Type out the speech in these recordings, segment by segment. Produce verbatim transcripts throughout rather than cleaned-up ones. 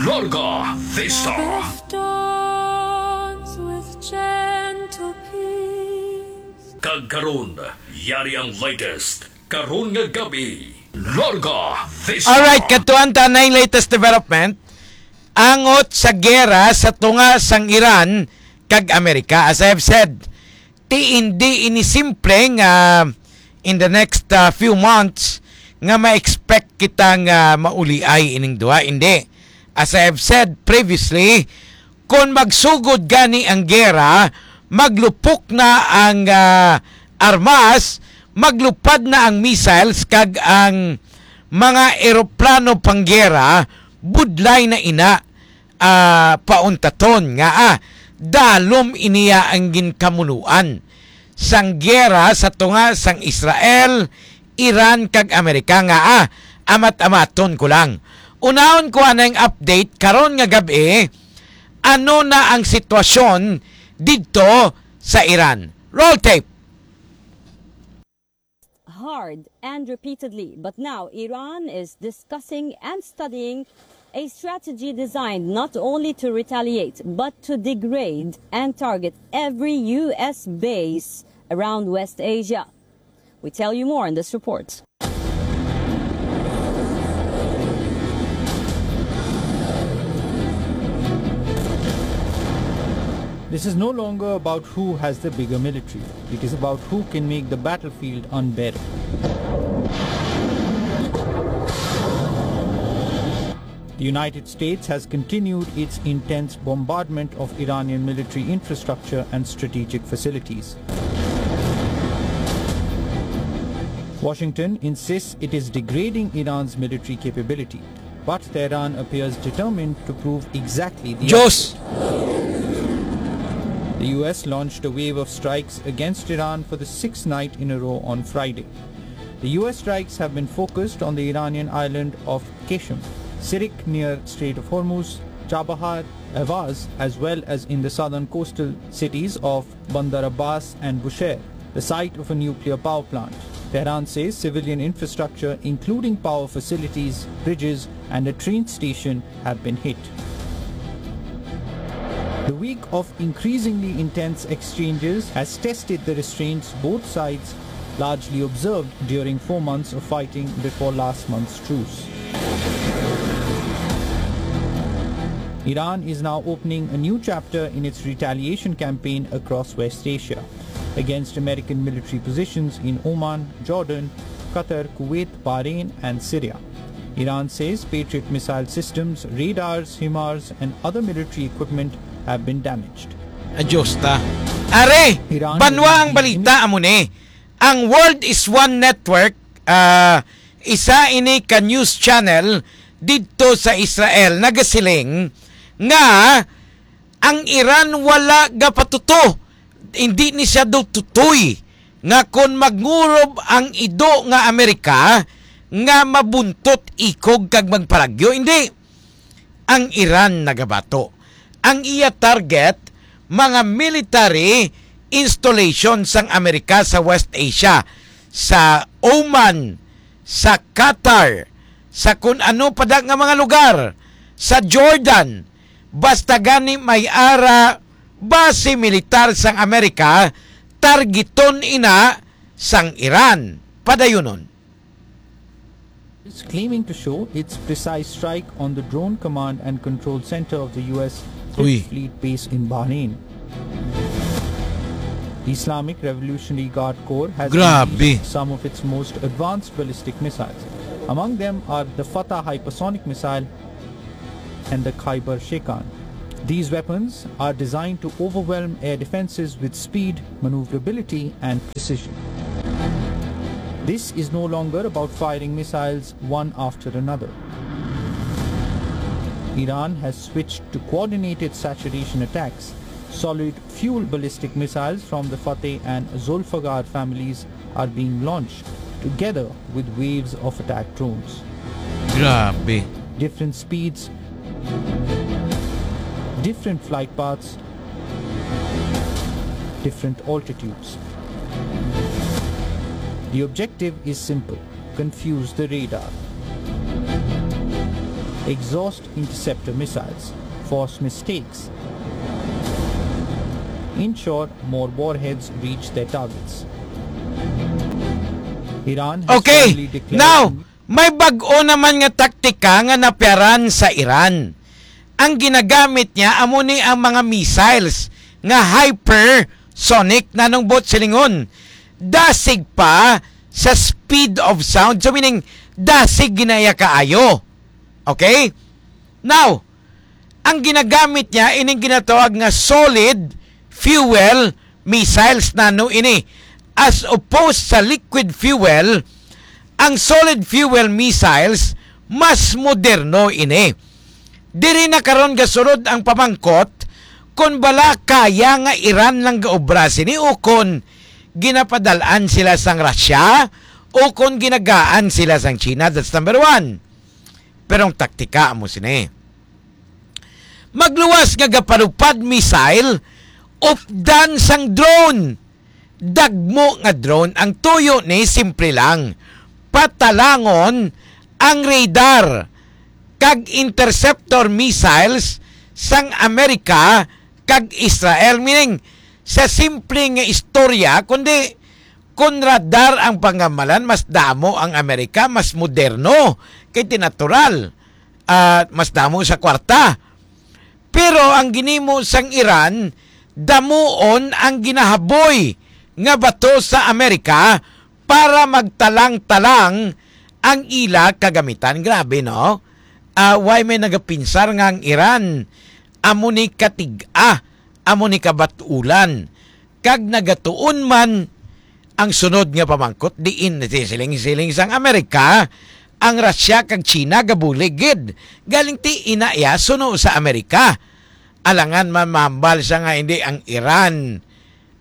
Larga Vista. With gentle peace. Kag karon, yari ang latest karon nga gabi. Larga Vista. Alright, katuan ta na yung latest development angot sa gera sa tunga sang Iran kag Amerika. As I have said, ti hindi ini simple nga in the next, ah, few months nga ma-expect kita nga mauliay ining duha. Hindi. As I have said previously, kon magsugod gani ang gera, maglupok na ang, ah, armas, maglupad na ang missiles kag ang mga eroplano panggera, budlay na ina, ah, pauntaton nga, ah, dalom iniya ang ginkamunuan sang gera sa tunga sang Israel, Iran kag Amerika nga, ah, amat-amaton ko lang. Unahon ko anang update karon nga gab-i, ano na ang sitwasyon didto sa Iran. Roll tape. Hard and repeatedly, but now Iran is discussing and studying a strategy designed not only to retaliate, but to degrade and target every U S base around West Asia. We tell you more in this report. This is no longer about who has the bigger military. It is about who can make the battlefield unbearable. The United States has continued its intense bombardment of Iranian military infrastructure and strategic facilities. Washington insists it is degrading Iran's military capability, but Tehran appears determined to prove exactly the Diyos! Opposite. The U S launched a wave of strikes against Iran for the sixth night in a row on Friday. The U S strikes have been focused on the Iranian island of Qeshm, Sirik near Strait of Hormuz, Chabahar, Ahvaz, as well as in the southern coastal cities of Bandar Abbas and Bushehr, the site of a nuclear power plant. Tehran says civilian infrastructure, including power facilities, bridges, and a train station, have been hit. The week of increasingly intense exchanges has tested the restraints both sides largely observed during four months of fighting before last month's truce. Iran is now opening a new chapter in its retaliation campaign across West Asia against American military positions in Oman, Jordan, Qatar, Kuwait, Bahrain, and Syria. Iran says Patriot missile systems, radars, HIMARS, and other military equipment have been damaged. Adios ta. Are, Iran banwa ang balita amo ni. Ang World is One Network, ah, isa ini ka news channel didto sa Israel, nagasiling nga ang Iran wala gapatuto, hindi ni siya daw tutoy nga kon magngurob ang ido nga Amerika nga mabuntot ikog kag magparagyo. Hindi. Ang Iran nagabato. Ang iya target, mga military installation sang Amerika sa West Asia, sa Oman, sa Qatar, sa kun ano pa da nga mga lugar, sa Jordan, basta gani may ara base militar sang Amerika, targeton ina sang Iran. Padayunon. Is claiming to show its precise strike on the Drone Command and Control Center of the U S Fifth Uy. Fleet base in Bahrain. The Islamic Revolutionary Guard Corps has Grabe. Unleashed some of its most advanced ballistic missiles. Among them are the Fatah hypersonic missile and the Khaibar Shekan. These weapons are designed to overwhelm air defenses with speed, maneuverability, and precision. This is no longer about firing missiles one after another. Iran has switched to coordinated saturation attacks. Solid fuel ballistic missiles from the Fateh and Zolfaghar families are being launched together with waves of attack drones. Grabe. Different speeds, different flight paths, different altitudes. The objective is simple: confuse the radar. exhaust interceptor missiles, force mistakes. In short, more warheads reach their targets. Iran has Okay, finally declared now, may bag-o naman nga taktika nga napiaran sa Iran. Ang ginagamit niya amo ni ang mga missiles nga hypersonic, nanong bot silingon. Dasig pa sa speed of sound. So meaning, dasig ginaya kaayo. Okay? Now, ang ginagamit niya ining ginatawag nga solid fuel missiles, nano ini, as opposed sa liquid fuel. Ang solid fuel missiles mas moderno ini. Diri na karon gasulod ang pamangkot kon bala kaya nga Iran lang gaobra sini o kon ginapadal-an sila sang Russia o kon ginagaan sila sang China. That's number one. Pero ang taktika amo sini. Magluwas nga gaparupad missile, updan sang drone. Dagmo nga drone ang tuyo ni, simple lang. Patalangon ang radar kag interceptor missiles sang Amerika kag Israel. Meaning, sa simple nga istorya, kundi kun radar ang pangamalan, mas damo ang Amerika, mas moderno, kay ti natural, at mas damo sa kwarta. Pero ang ginimo sang Iran, damuon ang ginahaboy nga bato sa Amerika para magtalang-talang ang ila kagamitan. Grabe, no? Ah, why may nagapinsar nga ang Iran amo ni katig-a, amo ni kabatulan? Kag nagatuon man ang sunod nga pamangkot, diin siling-siling sang Amerika, ang Russia kag China gabulig gid. Galing ti ina iya suno sa Amerika. Alangan man mahambal siya nga hindi ang Iran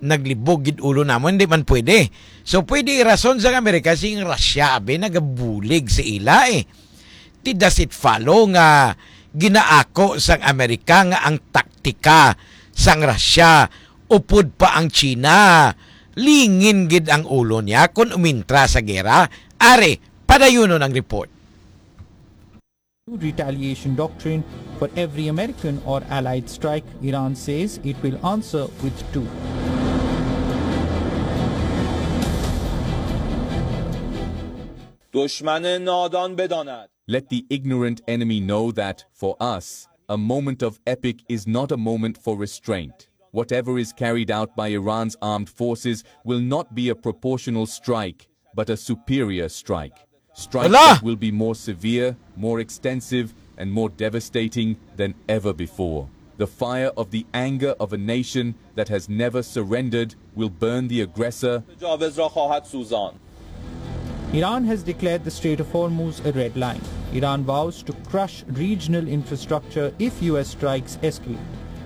naglibog gid ulo namon, hindi man pwede. So, pwede irason sang Amerika si Russia, abi, nagabulig sa ila, eh. Ti does it follow nga ginaako sang Amerika nga ang taktika sang Russia upod pa ang China? Lingin gid ang ulo niya kon umintra sa gera. Ari, padayunon ang report. Retaliation doctrine. For every American or allied strike, Iran says it will answer with two. دشمن نادان بداند. Let the ignorant enemy know that, for us, a moment of epic is not a moment for restraint. Whatever is carried out by Iran's armed forces will not be a proportional strike, but a superior strike. Strike Hala! that will be more severe, more extensive, and more devastating than ever before. The fire of the anger of a nation that has never surrendered will burn the aggressor. جاوز را خواهد سوزاند. Iran has declared the Strait of Hormuz a red line. Iran vows to crush regional infrastructure if U S strikes escalate.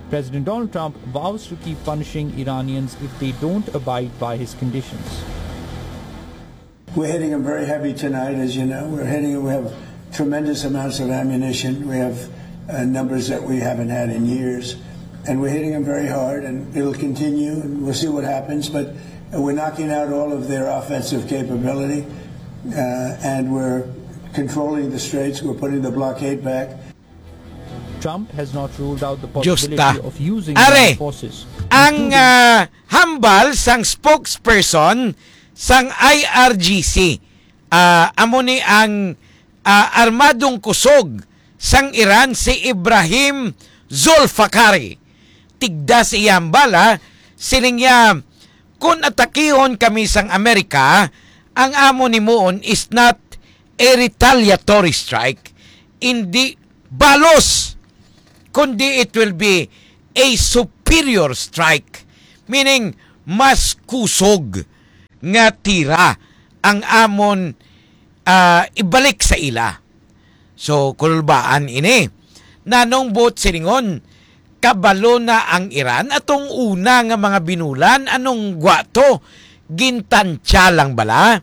President Donald Trump vows to keep punishing Iranians if they don't abide by his conditions. We're hitting them very heavy tonight, as you know. We're hitting, we have tremendous amounts of ammunition. We have, uh, numbers that we haven't had in years. And we're hitting them very hard, and it'll continue, and we'll see what happens. But we're knocking out all of their offensive capability, uh, and we're controlling the straits. We're putting the blockade back. Trump has not ruled out the Diyos ta. possibility of using Are, land forces, ang, including ah, hambal sang spokesperson sang I R G C, ah, amo ni ang, ah, armadong kusog sang Iran, si Ibrahim Zolfakari. Tigda sa iya hambal, ha, siling niya, "Kung atakihon kami sang Amerika, ang amon himuon is not a retaliatory strike, hindi balos, kundi it will be a superior strike." Meaning, mas kusog nga tira ang amon, ah, ibalik sa ila. So, kulbaan ini. Nanong buot silingon, kabalo na ang Iran atong una nga mga binulan, anong gwato? Gintantya lang bala?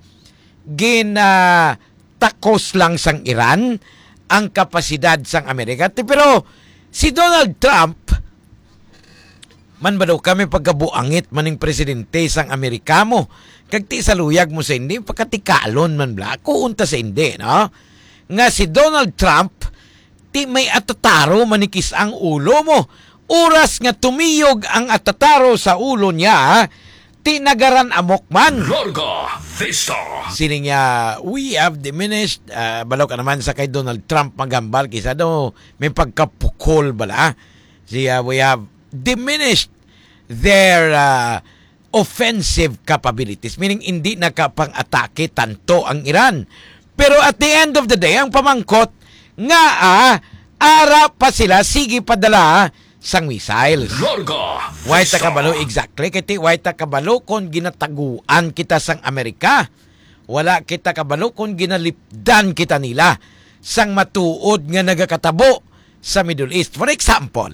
Gin, ah, takos lang sang Iran ang kapasidad sang Amerika. Ti-, pero si Donald Trump, man ba daw kami pagkabuangit maning presidente sang Amerika mo? Kag ti sa luyag mo sa hindi, pakatikalon man bala. Ako unta sa hindi, no? Nga si Donald Trump, ti may atataro manikis ang ulo mo. Oras nga tumiyog ang atataro sa ulo niya, ti nagaran-amok man. Larga Vista. Siling niya, "We have diminished," ah, balo ka naman sa kay Donald Trump maghambal, kisa daw may pagkapukol bala. Siya, "We have diminished their, ah, offensive capabilities," meaning hindi nakapang-atake tanto ang Iran. Pero at the end of the day, ang pamangkot nga, ah, ara pa sila, sige padala sang missiles. Larga Why ta Vista. Kabalo exactly? Kay ti, why ta kabalo kung ginataguan kita sang Amerika? Wala kita kabalo kung ginalipdan kita nila sang matuod nga nagakatabo sa Middle East. For example,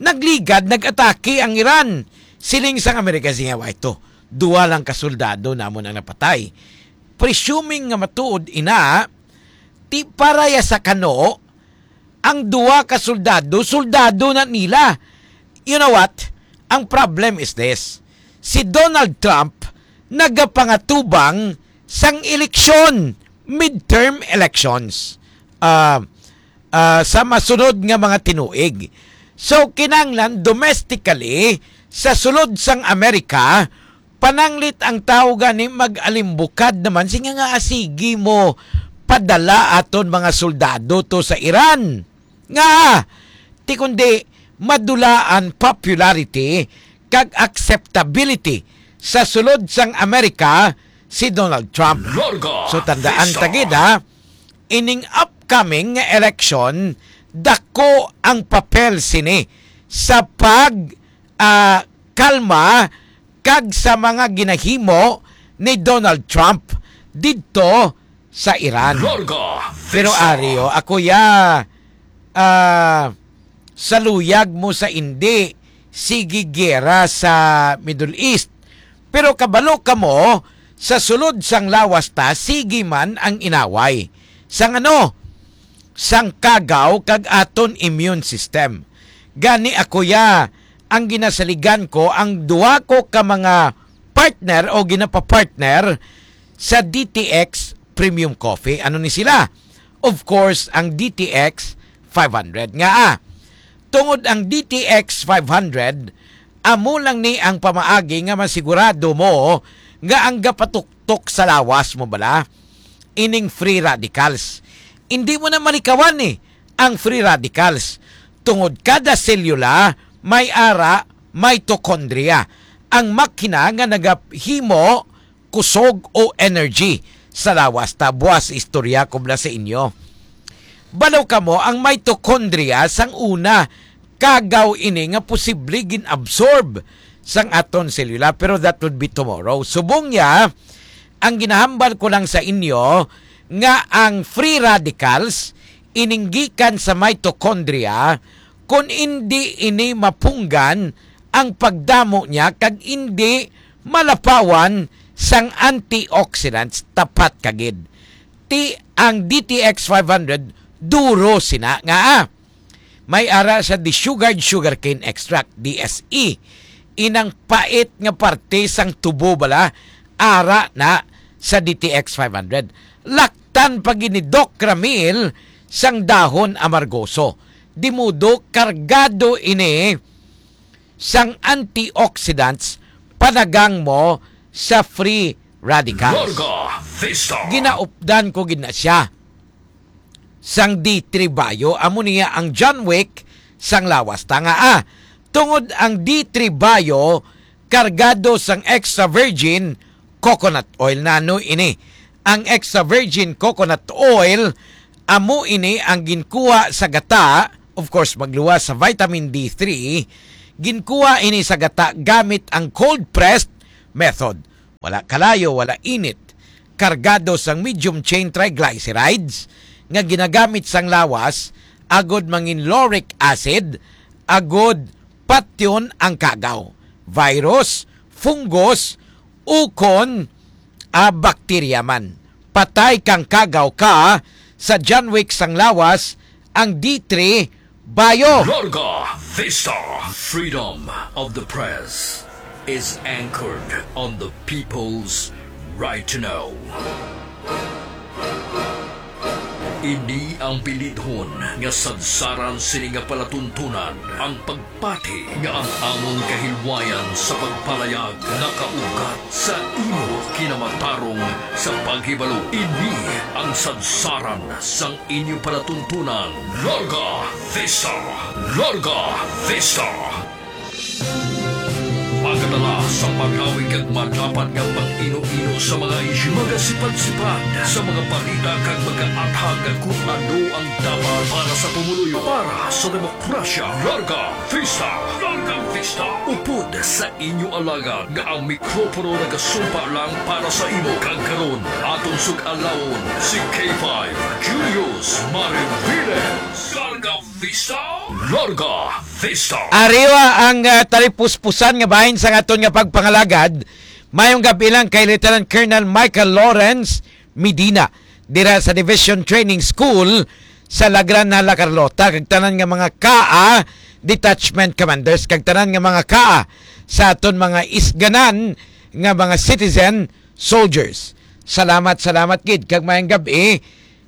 nagligad, nag-atake ang Iran. Siling sang Amerika, siya, "Wa ito, duwa lang ka soldado namon ang napatay." Presuming nga matuod ina, ti para ya sa kano, ang duwa ka soldado, soldado na nila. You know what? Ang problem is this. Si Donald Trump nagapangatubang sang eleksyon, midterm elections, ah, ah, sa masunod nga mga tinuig. So, kinahanglan domestically, sa sulod sang Amerika, pananglit ang tawo gani mag-alimbukad naman, silinga nga, "Ah, sige mo, padala aton mga soldado to sa Iran." Nga, ti kundi madulaan popularity kag acceptability sa sulod sang Amerika si Donald Trump. Larga So, tandaan Vista. Ta gid, ha, ining upcoming nga election, dako ang papel sini sa pag, ah, kalma kag sa mga ginahimo ni Donald Trump didto sa Iran. Larga Pero Vista. Ari, oh, ako ya, ah, saluyag mo sa indi, sige gera sa Middle East. Pero kabalo kamo, sa sulod sang lawas ta, sige man ang inaway. Sang ano? Sang kagaw kag aton immune system. Gani ako ya, ang ginasaligan ko ang duha ko ka mga partner o ginapapartner sa D T X Premium Coffee. Ano ni sila? Of course, ang D T X five hundred. Nga, ah, tungod ang D T X five hundred, amo lang ni ang pamaagi nga masigurado mo nga ang gapatuktok sa lawas mo bala ining free radicals. Hindi mo na malikawan ni ang free radicals. Tungod kada selula may ara mitochondria, ang makina nga nagahimo kusog o energy sa lawas. Ta buas istorya ko bala sa inyo. Balo kamo ang mitochondria sang una, kagaw ini nga posible gin-absorb sang aton selula, pero that would be tomorrow. Subong niya, ang ginahambal ko lang sa inyo nga ang free radicals ining gikan sa mitochondria, kun indi ini mapunggan ang pagdamo niya kag indi malapawan sang antioxidants, tapat ka gid. Ti ang D T X five hundred, duro sina nga, ah, may ara sa desugared sugarcane extract, D S E. Inang pait nga parte sang tubo bala, ara na sa D T X five hundred. Laktan pa gid ni Doc Ramil sang dahon amargoso. Di modo, kargado ini sang antioxidants, panagang mo sa free radicals. Larga Vista. Ginaupdan ko gid na siya sang D three Bio, amo niya ang John Wick sang lawas. Ta nga, ah, tungod ang D three Bio kargado sang extra virgin coconut oil. Nano ini? Ang extra virgin coconut oil, amo ini ang ginkuha sa gata, of course, magluwas sa vitamin D three, ginkuha ini sa gata gamit ang cold pressed method. Wala kalayo, wala init. Kargado sang medium chain triglycerides nga ginagamit sang lawas agud mangin lauric acid, agud patyon ang kagaw, virus, fungus, ukon, ah, bakterya man. Patay kang kagaw ka sa John Wick sang lawas ang D three Bio. Larga Vista. Freedom of the press is anchored on the people's right to know. Ini ang bilidhon nga sadsaran sini nga palatuntunan, ang pagpati nga ang amon kahilwayan sa pagpalayag nakaugat sa imo kinamatarong sa paghibalo. Ini ang sadsaran sang inyo palatuntunan. Larga Vista! Larga Vista! Magadala sa malawi kag madapat nga pag-ino-ino sa mga isyu, magasipad-sipad sa mga balita kag magaathag kung ano ang dapat para sa pumuluyo, para sa demokrasya. Larga Vista! Larga Vista! Upod sa inyo alagad nga ang mikropono nagasumpa lang para sa imo, kag karon aton sug-alawon si K five Julius Mariviles. Larga Vista! Larga Vista! Ariwa ang, ah, talipuspusan nga bahin sa aton nga pagpangalagad. Mayong gabi lang kay Lieutenant Colonel Michael Lawrence Medina dira sa Division Training School sa Lagran na La Carlota, kag tanan nga mga kaa detachment commanders, kag tanan nga mga kaa sa aton mga isganan nga mga citizen soldiers. Salamat, salamat gid, kag mayong gabi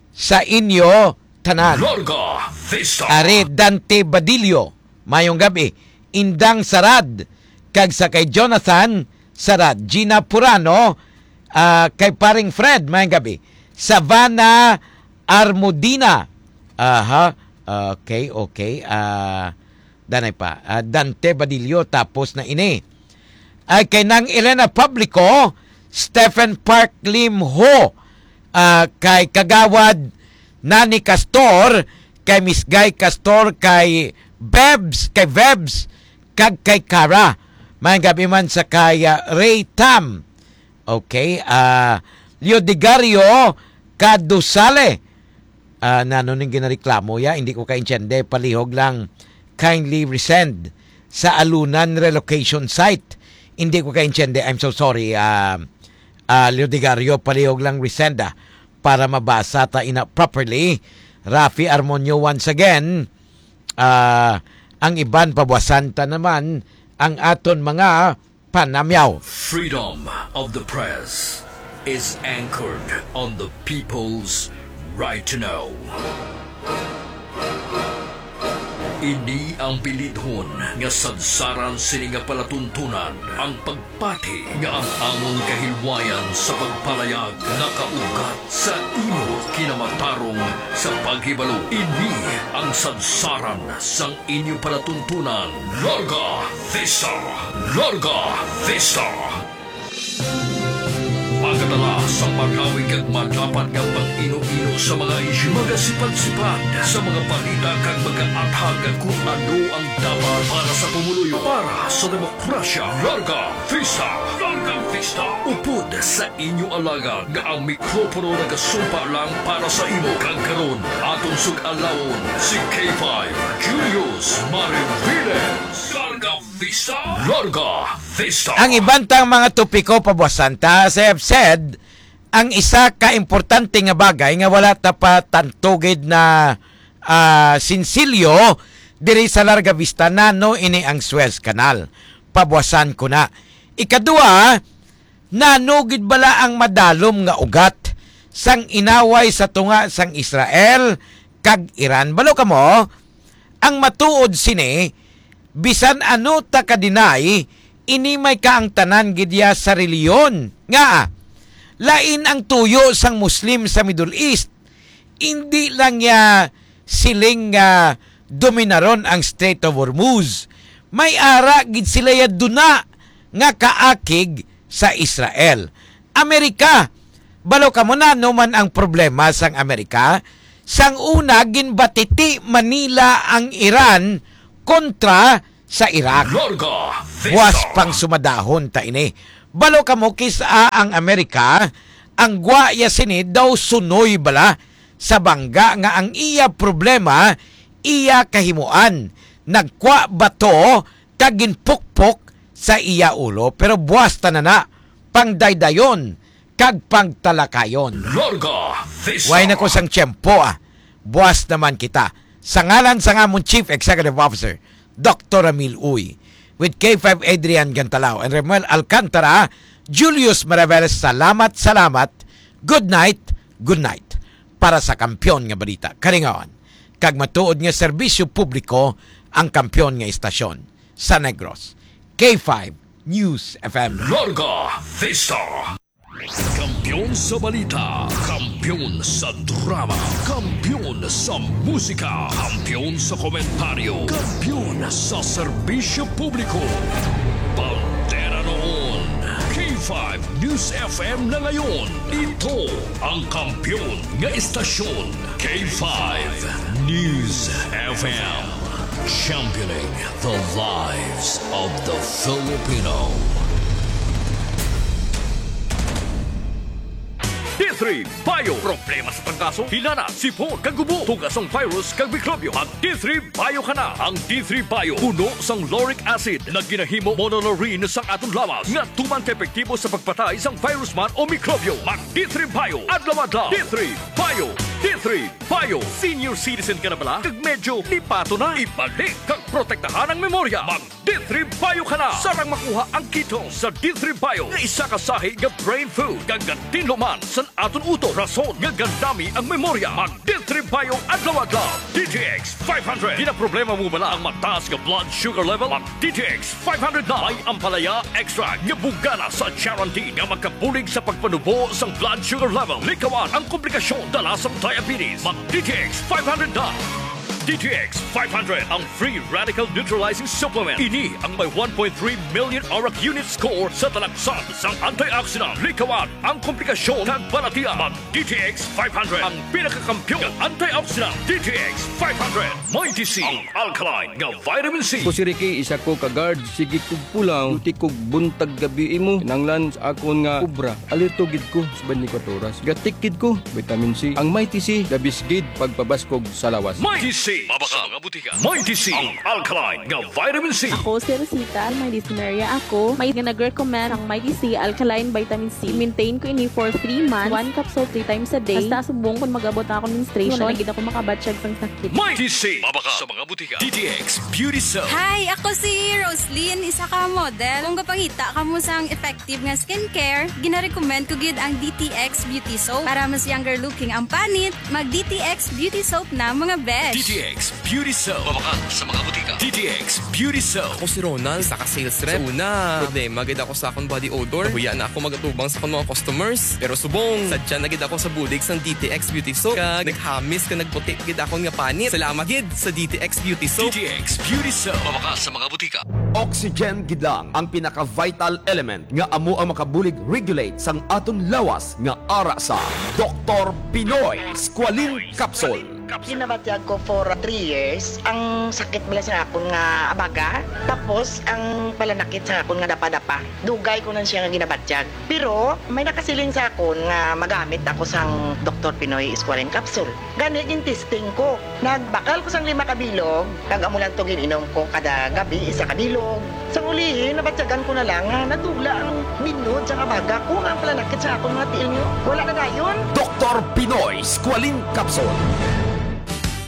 sa inyo tanan. Larga Vista. Ari Dante Badillo, mayong gabi. Indang Sarad, kag sa kay Jonathan Sarad, Gina Purano, ah, kay Paring Fred, mayong gabi. Savannah Armudina. Aha. Okay, okay. Ah, danay pa. Ah, Dante Badillo, tapos na ini. Ay kay Nang Elena Publico, Stephen Park Lim Ho, ah, kay Kagawad Nani Castor, kay Miss Guy Castor, kay Bebs, kay Vebs, kag kay Kara. Mayong gabi man sa kay, ah, Ray Tam. Okay, ah, Leodegario Cadusale. Ah, nano ning ginareklamo ya? Hindi ko kaintiende. Palihog lang, kindly resend sa Alunan relocation site. Hindi ko kaintiende. I'm so sorry, ah, ah, Leodegario. Palihog lang resend, ah, para mabasa ta ina properly. Rafi Armonio once again. Ah, ang iban pabuasan ta naman ang aton mga panamyaw. Freedom of the press is anchored on the people's right to know. Ini ang bilidhon nga sadsaran sini nga palatuntunan, ang pagpati nga ang amon kahilwayan sa pagpalayag nakaugat sa imo kinamatarong sa paghibalo. Ini ang sadsaran sang inyo palatuntunan. Larga Vista! Larga Vista! Magadala sa malawi kag madapat nga pag-ino-ino sa mga isyu, magasipad-sipad sa mga balita kag magaathag kung ano ang dapat para sa pumuluyo, para sa demokrasya. Larga Vista! Larga Vista! Upod sa inyo alagad nga ang mikropono nagasumpa lang para sa imo, kag karon aton sug-alawon si K five Julius Mariviles. Larga Vista! Larga Vista! Ang iban tang mga topiko pabuasan ta, as I have said, ang isa ka importante nga bagay nga wala ta pa tantugid na, ah, sinsilyo diri sa Larga Vista, nano ini ang Suez Canal. Pabuasan ko na. Ikadua, nano gid bala ang madalom nga ugat sang inaway sa tunga sang Israel kag Iran? Balo kamo, ang matuod sini, bisan ano ta ka-deny, ini may kaangtanan gid ya sa relihiyon. Ngaa? Lain ang tuyo sang Muslim sa Middle East. Indi lang ya siling nga dominaron ang Strait of Hormuz. May ara gid sila ya duna nga kaakig sa Israel. Amerika, balo kamo, nano man ang problema sang Amerika? Sang una, ginbatiti man nila ang Iran kontra sa Iraq. Larga Vista. Buas pang sumadahon ta ini. Balo kamo, kis-a ang Amerika, ang gwa ya sini daw sunoy bala sa bangga nga ang iya problema, iya kahimuan, nagkwa bato kag ginpukpok sa iya ulo. Pero buas ta na na, pangdaydayon kag pangtalakayon. Larga Vista. Way na ko sang tiyempo, ah. Buas naman kita. Sa ngalan sang amon Chief Executive Officer, Doktor Ramil Uy, with K five Adrian Gantalao and Remuel Alcantara, Julius Maraveles, salamat, salamat. Good night, good night. para sa kampiyon nga balita, kalingawan, kag matuod nga serbisyo publiko ang kampiyon nga istasyon sa Negros. K five News F M. Larga Vista. Kampiyon sa balita, kampiyon sa drama, kampiyon sa musika, kampiyon sa komentaryo, kampiyon sa serbisyo publiko. Bandera noon, K five News F M na ngayon. Ito ang kampiyon nga estasyon, K five News F M. Championing the lives of the Filipino. D three Bio. Problema sa trangkaso, hilana, sipon, kag ubo, tuga sang virus kag mikrobyo. Mag D three Bio ka na. Ang D three Bio puno sang lauric acid nga ginahimo monolaurin sang aton lawas nga tuman ka epektibo sa pagpatay sang virus man o mikrobyo. Mag D three Bio adlaw-adlaw. D three Bio, D three Bio. Senior citizen ka na bala? Kag medyo lipato na? Ibalik kag protektahan ang memorya. Mag D three Bio ka na. Sarang makuha ang kito sa D three Bio nga isa ka sahi nga brain food kag gatinlo man san aton utok, rason nga gandami ang memorya. Mag D three Bio adlaw-adlaw. D T X five hundred. Ginaproblema mo bala ang mataas nga blood sugar level? Mag D T X five hundred na. May ampalaya extract nga bungana sa charantin nga makabulig sa pagpanubo sang blood sugar level. Likawan ang komplikasyon dala sang diabetes. Mag D T X five hundred na. D T X five hundred, ang free radical neutralizing supplement. Ini ang may one point three million arak unit score sa talaksan sang antioxidant. Likawan ang komplikasyon kag balatian. Mag D T X five hundred, ang pinakakampiyon nga antioxidant. D T X five hundred. Mighty C, ang alkaline nga vitamin C. Ako si Ricky, isa ko ka guard. Sige kog pulaw, duty kog buntag gabi imo. Kinahanglan sa akon nga obra. Alerto gid ko sa twenty-four oras. Gatik gid ko, vitamin C. Ang Mighty C, the best gid pagpabaskog sa lawas. Mighty C, mabakal sa mga butika. Mighty C, ang alkaline nga vitamin C. Ako si Rosita, may dysmenorrhea ako. May nga nag-recommend ang Mighty C alkaline vitamin C. Maintain ko ini for three months. One capsule three times a day. Hasta subong kung mag-abot na akong menstruation, wala na gid ako makabatyag sang sakit. Mighty C, mabakal sa mga butika. D T X Beauty Soap. Hi, ako si Roslyn, isa ka model. Kung gapangita kamo sang effective nga skincare, ginarecommend ko gid ang D T X Beauty Soap. Para mas younger looking ang panit, mag D T X Beauty Soap na, mga besh. D T X Beauty Soap. Mabakal sa mga butika. D T X Beauty Soap. Ako si Ronald, isa ka sales rep. Sa una, problema gid ako sa akong body odor. Nahuya na ako magatubang sa akong mga customers. Pero subong, sadya na gid ako sa bulig sang D T X Beauty Soap. Kag naghamis kag nagputi gid akon nga panit. Salamat gid sa D T X Beauty Soap. D T X Beauty Soap. Mabakal sa mga butika. Oxygen gid lang ang pinaka-vital element nga amo ang makabulig regulate sang aton lawas nga ara sa Doktor Pinoy Squalene Capsule. Ginabatyag ko for three years ang sakit bala sa akon nga abaga, tapos ang palanakit sa akon nga dapa-dapa. Dugay ko na siya nga ginabatyag. Pero may nakasiling sa akon nga magamit ako sang Doktor Pinoy Squalene Capsule. Gani, gin-testing ko. Nagbakal ko sang lima ka bilog, kag amo lang to gin-inom ko kada gabi, isa ka bilog. Sang ulihi, nabatyagan ko na lang nga natugla ang minod sang abaga ko, nga ang palanakit sa akon mga tiil nga wala na dayon. Doktor Pinoy Squalene Capsule.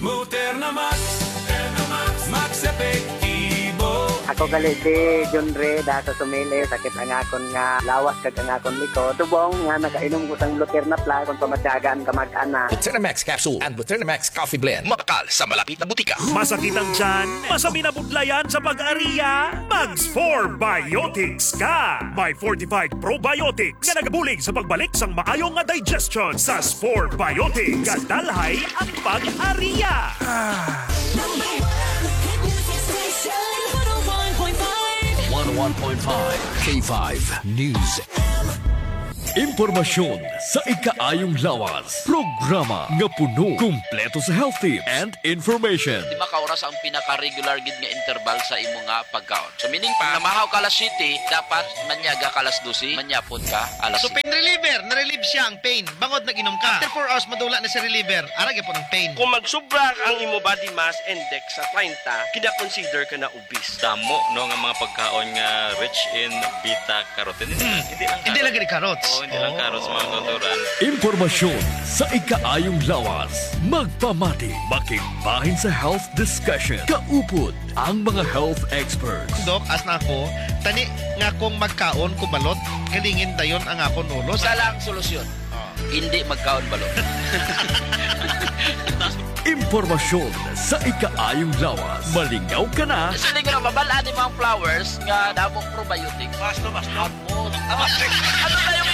Moderna Max, Moderna Max, Max Epektibo. Ako gali si John Ray, da sa Sumili, sakit ang akon nga lawas kag ang akon likod. Subong nga nakainom ko sang Luterna Plus, kung pamatyagan ka mag-ana. Luterna Max Capsule and Luterna Max Coffee Blend. Mabakal sa malapit na butika. Masakit ang tiyan? Masabi na budlayan sa pag-ariya? Mag Spore Biotics ka! May fortified probiotics nga nagabulig sa pagbalik sang maayo nga digestion. Sa Spore Biotics, gadalhay ang pag-ariya. Number one hit music station, one oh one point five. One oh one point five K five News. Impormasyon sa ikaayong lawas. Programa nga puno, kumpleto sa health tips and information. Lima ka oras ang pinaka-regular gid nga interval sa imo nga pagkaon. So, meaning pa, namahaw ka alas siyete, dapat manyaga ka alas dose, manyapon ka alas So, siyete. Pain reliever, na-relieve siya ang pain. Bangod nag-inom ka. After four hours, madula na si reliever. Ara gyapon ang pain. Kung magsubra ang imo body mass index sa treinta, kina-consider ka na obese. Damo, no, nga mga pagkaon nga rich in beta carotene. Hindi lang Hindi lang carrots. Gani carrots. Oo, hindi lang carrots, mga kautoran. Impormasyon sa ikaayong lawas. Magpamati, makigbahin sa health discussion. Kaupod ang mga health experts. Dok, as na ako, tani nga kung magkaon ko balot, galingin dayon ang akon ulo. Isa lang solusyon. Ah. Hindi magkaon balo. Impormasyon sa ikaayong lawas. Malingaw ka na. Siling nga mabal-an ni mga flowers nga damo probiotics. Basta, basta. Ano na yung